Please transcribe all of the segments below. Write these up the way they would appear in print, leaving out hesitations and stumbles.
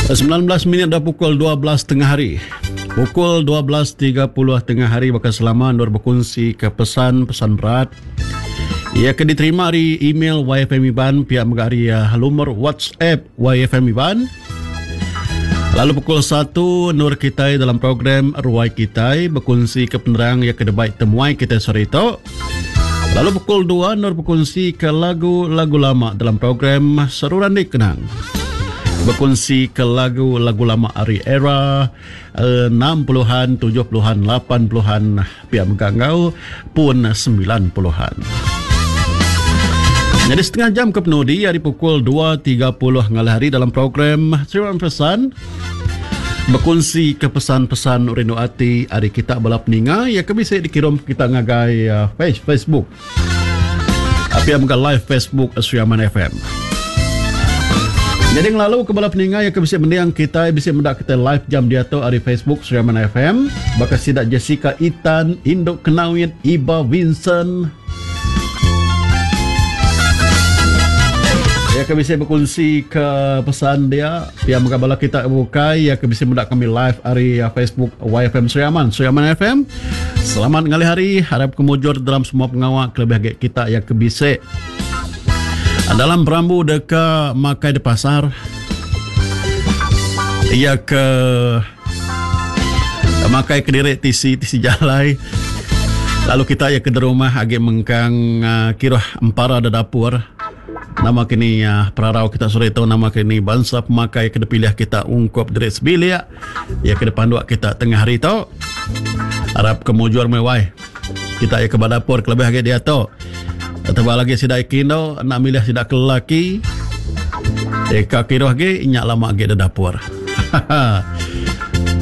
19 minit dah pukul 12 tengah hari. Pukul 12.30 tengah hari baka selama endur bekunsi ke pesan-pesan berat. Ia ke diterima ari email YFM Iban pia mega ari uh, lumur WhatsApp YFM Iban. Lalu pukul 1 nur kitai dalam program Ruai Kitai bekunsi ke penerang ia ke debai temuai kitai sehari tu. Lalu pukul 2 nur bekunsi ke lagu-lagu lama dalam program Seruran Dikenang. Bekunsi ke lagu-lagu lama ari era 60-an, 70-an, 80-an pia mega enggau pun 90-an. Nyadi setengah jam ke penudi ari pukul 2.30 ngalih hari dalam program Terima Pesan bekunsi ke pesan-pesan rindu ati ari kita bala peninga iya ke bisi dikirum kita ngagai uh, page Facebook. Pia mega live Facebook Sri Aman FM. Jadi ngelalu ke bala peninga yang ke bisi mending kitai bisi meda kitai live jam diatu ari Facebook Sri Aman FM baka sida Jessica Itan, Induk Kenawit, Iba Vincent. Ya ke bisi bekunsi ke pesan dia pia mega bala kita bukai ya ke bisi meda kami live ari uh, Facebook YFM Sri Aman, Sri Aman FM. Selamat ngalih hari, harap ke mujur dalam semua pengawa kelebih agi kita ya ke bisi dalam perambu deka makai di pasar. Iya ke makai kediri tisi tisi jalai. Lalu kita ya ke di rumah agi mengkang uh, kiruh empara di dapur. Nama kini uh, perarau kita sore tu nama kini bansa pemakai ke dipilih kita ungkup diri sebilik ya ke dipanduk kita tengah hari tu. Arap ke mujur meh wai. Kita ya ke badapur kelebih agi diatu. Tebal lagi sida ikindo nak milih sida ke lelaki. Eka kiruh agi nya lama agi di dapur.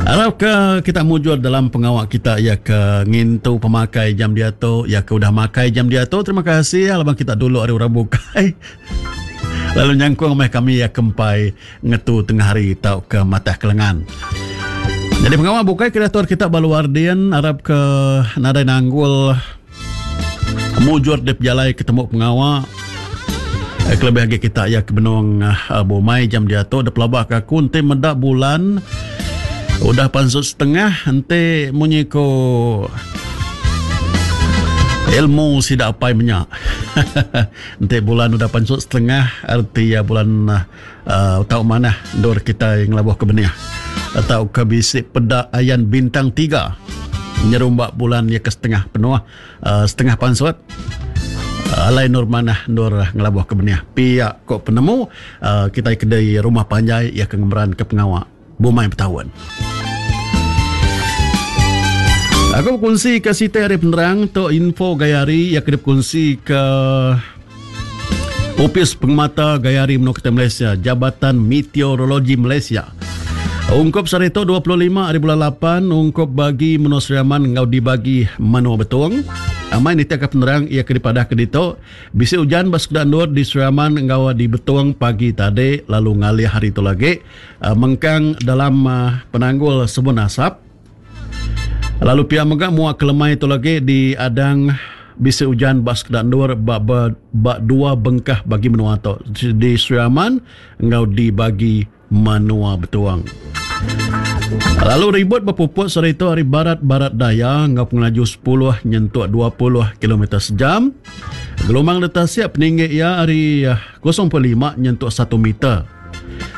Arap ke kita mujur dalam pengawa kita ya ke ngintu pemakai jam diatu, ya ke udah makai jam diatu. Terima kasih laban kita dulu ari orang bukai. Lalu nyangkung meh kami ya ke empai ngetu tengah hari tauka matah kelengan. Jadi pengawa bukai ke diatur kita ba luar din arap ke nadai nanggul mujur di pejalai ketemu pengawa eh, kelebih agi kita ya ke benung eh, bumai jam diatu dipelaba ke aku enti meda bulan udah pansut setengah enti munyi ko ilmu sida apai menya enti bulan udah pansut setengah erti ya bulan uh, tau manah endur kitai ngelabuh ke benih atau ke bisi peda ayan bintang tiga nyerumba bulan ya ke setengah penuh uh, setengah pansut uh, alai nur manah endur ngelabuh ke benih pia ko penemu uh, kitai ke di rumah panjai ya ke ngemeran ke pengawa bumai betaun. Aku bekunsi ke siti hari penerang tu info gaya hari yang kena bekunsi ke Opis Pengemata Gaya Hari Menua Kita Malaysia, Jabatan Meteorologi Malaysia. Ungkup sehari tu 25 hari bulan 8 ungkup bagi menua Sri Aman enggau dibagi menua Betong. Amai nitihka penerang iya ke dipadah ke ditu, bisi ujan ba sekeda endur di Sri Aman enggau di Betong pagi tadi lalu ngalih hari tu lagi. Mengkang dalam penanggul sebun asap. Lalu pia mega mua ke lemai tu lagi di adang bisi ujan ba sekeda endur ba ba, ba dua bengkah bagi menua tu di Sri Aman enggau di bagi menua Betuang. Lalu ribut bepuput sehari tu ari barat-barat daya enggau pengelaju 10 nyentuk 20 kilometer sejam. Gelombang di tasik peninggi iya ari 0.5 nyentuk 1 meter.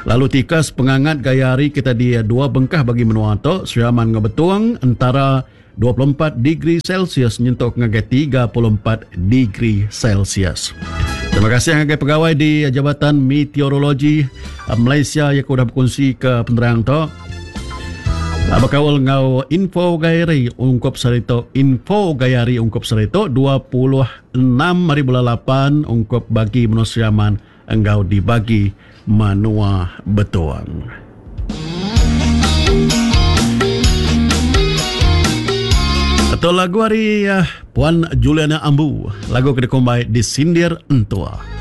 Lalu tikas pengangat gaya hari kita di dua bengkah bagi menua tu, Sri Aman enggau Betong, entara 24 degree Celsius nyentuk ngagai 34 degree Celsius. Terima kasih ngagai pegawai di Jabatan Meteorologi Malaysia yang udah bekunsi ke penerang tu. Bekaul enggau info gaya hari ungkup sehari tu, info gaya hari ungkup sehari tu 26 hari bulan 8 ungkup bagi menua Sri Aman enggau dibagi menua Betong. Atau lagu ari eh, Puan Juliana Ambu, lagu ke dikumbai Disindir Entua.